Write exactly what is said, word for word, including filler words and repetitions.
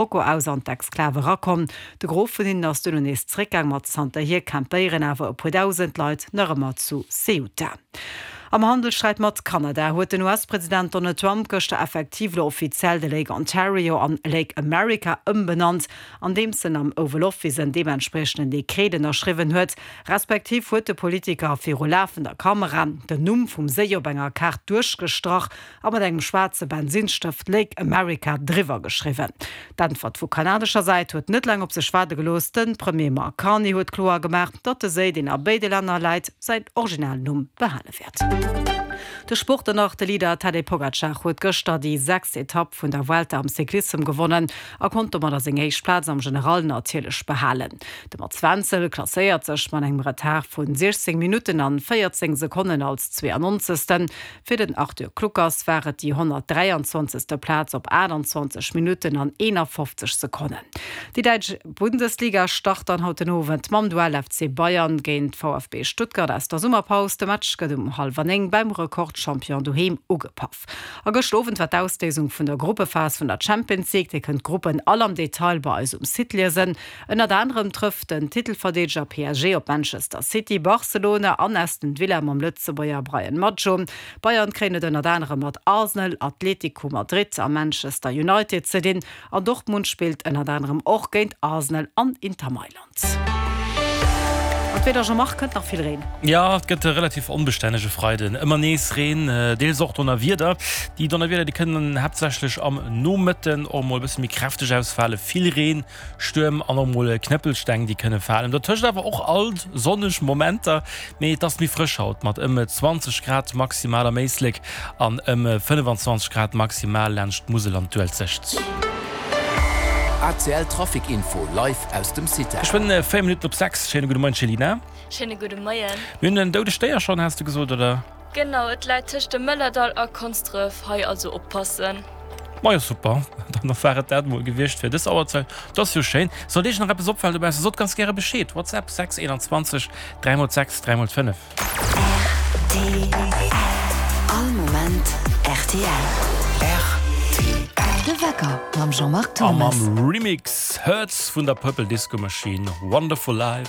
Marokko aus an d'Exklav erakomm. De Gros vun hinnen ass duerno nees zréckgaang, ma zanterhier campéieren awer e puer dausend Leit nach ëmmer zu Ceuta. Am Handelssträit mat Kanada huet den US-President Donald Trump gëschter effektiv lo offiziell de Lake Ontario an Lake America ëmbenannt, andeems en am Oval Office en deementspriechenden Dekret ënnerschriwwen huet. Respektiv huet de Politiker viru lafender Kamera den Numm vum Séi op enger Kaart duerchgestrach a mat engem schwaarze Bensinsstëft Lake America driwwer geschriwwen. D'Äntwert vu kanadescher Säit huet net laang op sech waarde gelooss, De Premier Mark Carney huet kloer gemaach, datt de Séi, deen a béide Länner läit, säin Originalnumm behale wäert. De Sport dann nach, De Leader Tadej Pogacar huet gëschter déi sechst Etapp vun der Vuelta am Cyclissem gewonnen a konnt domadder seng éischt Plaz am General natierlech behalen. De Mats Wenzel klasséiert sech mat engem Retard vu siechzéng Minutten an véierzéng Sekonnen als zweeannonzegsten. Fir den Arthur Kluckers war et déi honnertdräianzwanzegste Plaz op aachtanzwanzeg Minutten an eenafofzeg Sekonnen. Déi däitsch Bundesliga start dann haut den Owend mam Duell F C Bayern géint V F B Stuttgart aus der Summerpaus. De Match gëtt um hallwer néng beim Rekordchampion doheem ugepaff. A gëscht Owend war d'Ausléisung vun der Gruppephas vun der Champions League. Dir kënnt d'Gruppen all am Detail bei eis um Site liesen. Ënnert anerem trëfft den Titelverdeedeger P S G op Manchester City, Barcelona an Aston Villa mam Lëtzebuerger Brian Madjo. Bayern kréien et ënnert anerem mat Arsenal, Atlético Madrid a Manchester United ze dinn an Dortmund spillt ënnert anerem och géint Arsenal an Inter Mailand. An d'Wieder, Jean-Marc, kënnt nach vill Reen? Jo, et gëtt e relativ onbestännege Freiden. Ëmmer nees Reen, deels och Donnerwieder. Déi Donnerwieder, déi kënnen haaptsächlech am Nomëtten och mol e bësse méi kräfteg ausfalen. Vill Reen, Stuerm an och mol Knëppelsteng, déi kënne falen. Dotëscht awer och alt sonneg Momenter, mee et ass méi frësch haut mat ëm zwanzeg Grad maximal am Éislek an ëm fënnefenzwanzeg Grad maximal laanscht d'Musel an d'Uelzecht. A C L Trafic Info live aus dem CITEL. Geschwënn véier Minutten op sechs. Schéine gudde Moien, Céline. Schéine gudde Moien. Mir hunn en doudegt Déier schonn, has de gesot, oder? Genau, et läit tëscht dem Mëllerdall a Konsdref. Hei also oppassen. Majo super, dann war et dat mol gewiescht fir dës Auerzäit. Dat ass jo schéin. Sollt iech nach eppes opfalen dobaussen, sot ganz gäre Bescheed. WhatsApp sechs einundzwanzeg dräi mol sechs dräi mol fënnef. R T L All Moment R T L. R T L. De Wecker mam Jean-Marc A Thomas. Mam Remix Hurts vun der Purple Disco Machine, Wonderful Life.